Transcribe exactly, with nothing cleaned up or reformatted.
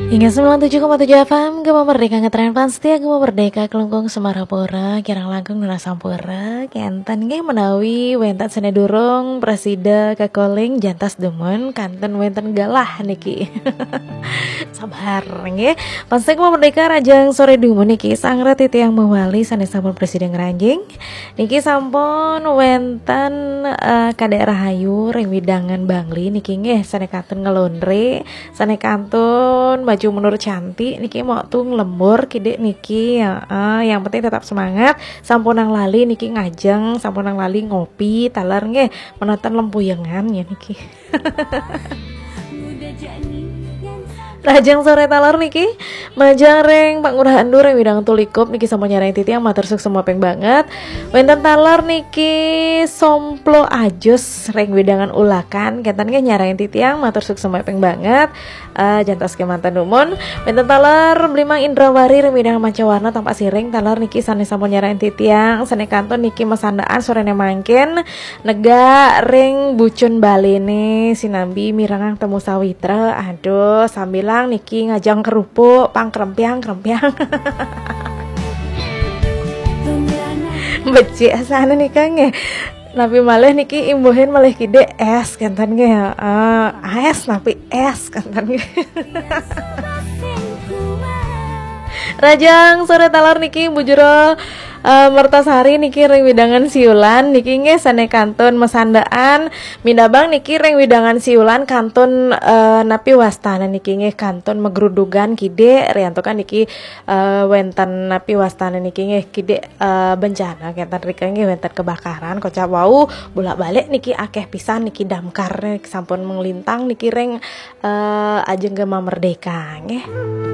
Hingga sembilan tujuh koma tujuh F M, Gema Merdeka ngetren pan setia, Gema Merdeka kelungkung Semarapura, kirang langkung nuna sampura, kenten nggih menawi wenten sene durung prasida kakoling jantas dumun, kanten wenten galah niki. Sabar nggih. Pasti Gema Merdeka rajang sore dumun niki, sangret titiang mawali sane sampun prasida ngranjing. Niki sampun wenten, eh, Kadek Rahayu ring widangan Bangli niki nggih, sane kantun ngelondre, sane kantun maju mundur cantik niki, mok tung lembur kidik niki, ya, eh, yang penting tetap semangat. Sampunang lali niki ngajeng, sampunang lali ngopi, taler nggih, menonton lempuyengan ya niki. Rajang sore taler niki, majeng ring Pak Ngurah Endur ring widang Tulikup niki sampun nyarengin titiang, matur suksma ping banget. Wenten taler niki Somplo Ajus ring widangan Ulakan, kenten nggih nyarengin titiang, matur suksma ping banget. Eh, jantos kemanten dumun. Wenten taler Blimang Indrawari ring widangan Mancawarna Tampak Siring, taler niki sane sampun nyarengin titiang, sane kantun niki masandaan sorene mangkin. Negak ring bucun Baline sinambi mirengang Temu Sawitra. Aduh, sambilang niki ngajeng kerupuk, pang krempiang, krempiang. Becik asane nika nggih. Napi malih niki imbuhin malih kidik es kenten nggih. Eh, es napi es kenten nggih. Rajang sore taler niki Bu Jero, eh, Mertasari niki ring widangan Siulan niki nggih sane kantun masandaan, minabang niki ring widangan Siulan kantun, eh, napi wastane niki nggih, kantun magrudugan kidik, riantukan niki, eh, wenten napi wastane niki nggih, kidik, eh, bencana kenten rika nggih, wenten kebakaran kocap wau, bolak-balik niki akeh pisan niki damkar niki sampun menglintang niki ring, eh, ajeng Gema Merdeka nggih.